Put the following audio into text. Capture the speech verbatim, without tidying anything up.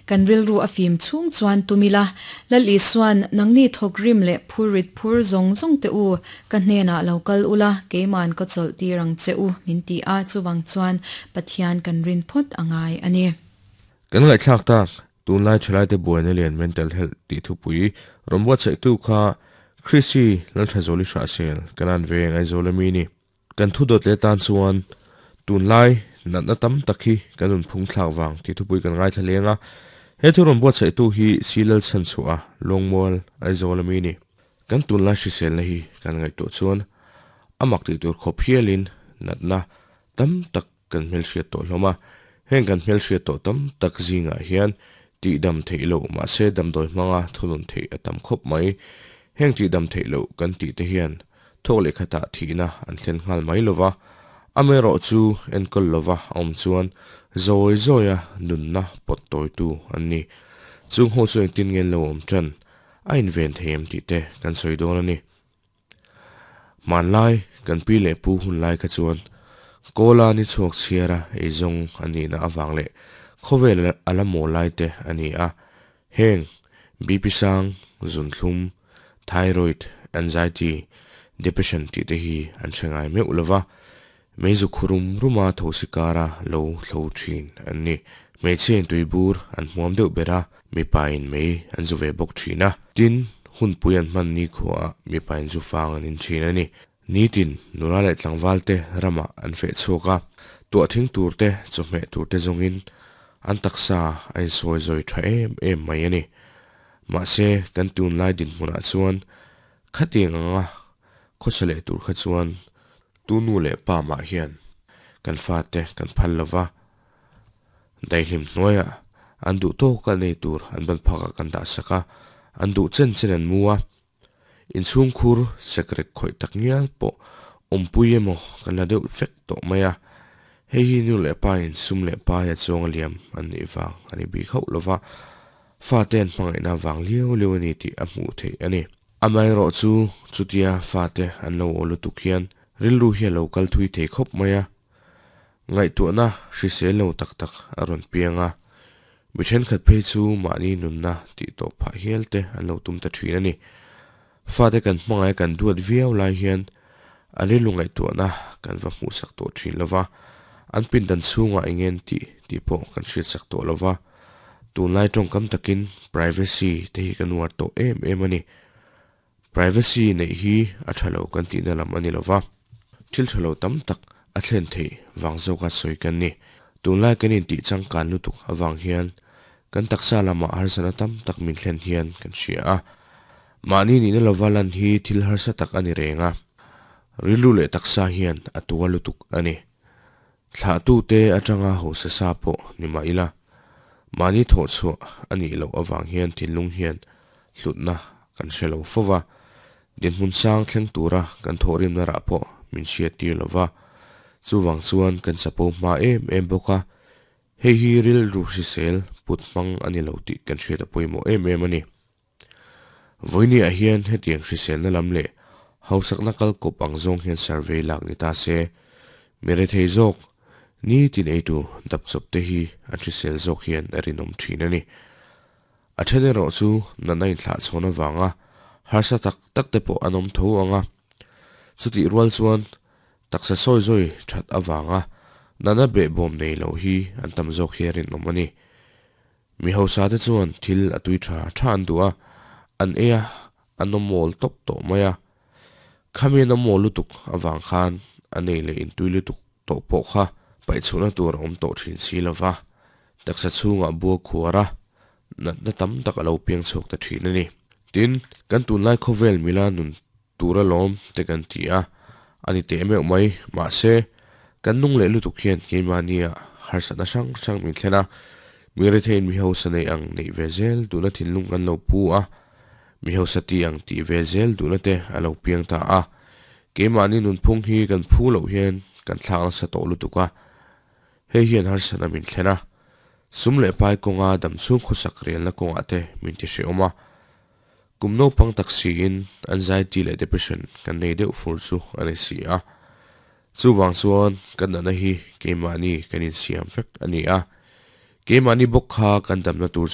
Kan rilru a fim chhung chuan tum ila, Lal Isuan, Nangni thawk rim leh phurrit phur zawng zawng te u, ka hnenah lo kal ula, keiman ka chawlh tir ang che u, min ti a, chuvang chuan Pathian kan rin phawt a ngai a ni. Kan ngaihthlak tak, tunlai thalaite buaina lian mental health tih thupui rawn buatsaihtu kha Chrissy Lalthazawli Hrahsel Kanan Veng Aizawl ami ni. Kan thu dawt leh tan chuan tunlai natna tam tak hi kan nun phung thlak vang tih thupui kan ngaithla leng a. He thu rawn buatsaihtu hi Silal Chhanchhuah Lawngmual Aizawl ami ni. Kan tunlai hriselna hi kan ngaihtuah chuan a mak tih tur khawp hialin natna tam tak kan hmelhriat tawh hlawm a. Heng kan hmelhriat tawh tam tak zingah hian tih dam theih loh mahse damdawi hmanga thunun theih a tam khawp mai. Heng tih dam theih loh kan tih te hian thawk leh khatah thihna an thlen nghal mai lova, amaherawh chu enkawl lova a awm chuan zawi zawia nunna pawt tawitu an ni. Chung ho chu engtin nge an lo awm tan a inven thei em tih te kan sawi dawn a ni. Hmanlai kan pi leh pu hun lai kha chuan Kawla ni chhuak chhiara eizawng a nihna avang leh khawvel a la maw lai te a ni a. Heng B P sang, zunthlum, thyroid, anxiety, depression tih te hi an hre ngai meuh lova, meizu khurum ruma thosi kara lo thlo thin an ni. Hmeichhe in tuibur an hmuam deuh ber a, mipa in mei an zu ve bawk thin a. Tin, hunpui an hman ni khuaah mipa in zu fang an in thin a ni. Nitin, nula leh tlangval te ramah an feh chhuak a, tuah thing tur te, chawhmeh tur te zawngin an taksa a insawi zawi tha em em mai a ni. Mahse, kan tunlai dinhmunah chuan khatiang anga khawsa leh tur kha chuan tu nu leh pa mah hian kan fate kan phal lo va, daihlim hnuaiah an duh tawka nei tur an ban phakah kan dah sak a, an duh chen chen an mu a. Inchhungkhur sekrek khawih tak ngial pawh awmpui emaw kan la deuh vek tawh mai a, hei hi nu leh pa in sum leh pai a chuang a liam an nih vang a ni bik hauh lova, fate an hmangaihna vang liau liau a ni tih a hmuh theih a ni. Amaherawh chu chutia fate an lo aw lutuk hian rilru hi a lo kal thui thei khawp mai a, ngaihtuahna hrisel lo tak tak a rawn piang a, mi thenkhat phei chu mahni nunna tih tawh phah hial te an lo tum ta thin a ni. Fate kan hmangaih kan duat viau lai hian an rilru ngaihtuahna kan va hmuhsak tawh thin lova, an pindan chhungah eng ngen tih tih pawh kan hriatsak tawh lova, tunlai tawngkam takin privacy te hi kan uar tawh em em a ni. Privacy neih hi a tha lo kan tihna lam a ni lova, thil tha lo tam tak a thlen theih vang zawka sawi kan ni. Tunlai kan intih changkan lutuk avang hian kan taksa lamah harsatna tam tak min thlen hian kan hria a. Mahni nihna lova lan hi thil harsa tak a ni reng a, rilru leh taksa hian a tua lutuk a ni. Thlahtute atanga hausa sa pawh ni mah ila, mahni thawhchhuah a nih loh avang hian thinlung hian hlutna kan hre lo fo va, dinhmun sang thleng tura kan thawhrimna rah pawh min hriattir lo va, chuvang chuan kan chapo hma em em bawk a, hei hi rilru hrisel put hmang a ni lo tih kan hriat a pawimawh em em a ni. Vawinia hian hetiang hriselna lam leh hausakna kal kawp ang zawng hian survey lak ni ta se, mi rethei zawk nitin eitu dapchawp te hi an hrisel zawk hian a rinawm thin a ni. A then erawh chu natna inthlah chhawn avanga harsa tak tak te pawh an awm tho ang a, chutih rual chuan taksa sawi zawi that avanga natna behbawm nei lo hi an tam zawk hi a rinawm a ni. Mi hausa te chuan thil a tui tha tha an duh a, an ei a, an awm mawl tawp tawh mai a. Khami an awm mawl lutuk avang khan a nei leh intui lutuk tawh pawh kha paihchhuahna tur a awm tawh thin si lo va, taksa chhungah bua khuar a, natna tam tak a lo piang chhuak ta thin a ni. Tin, kan tunlai khawvel mila nun tura lawm te kan ti a, a ni teh meuh mai. Mahse, kan nung leh lutuk hian keimahnia harsatna hrang hrang min thlen a, mi retheiin mi hausa neih ang neih ve zel duhna thinlung kan lo pu a, mi hausa tih ang tih ve zel duhna te a lo piang ta a. Keimahni nunphung hi kan phu loh hian kan thlak nasa tawh lutuk a, hei hian harsatna min thlen a, sum leh pai kawnga damchhung khawsak relna kawngah te min ti hrehawm a. Kum naupang tak siin anxiety leh depression kan nei deuh fur chu a ni si a. Chuvang chuan kan natna hi keimahni kan insiam vek a ni a. Keimahni bawk kha kan damna tur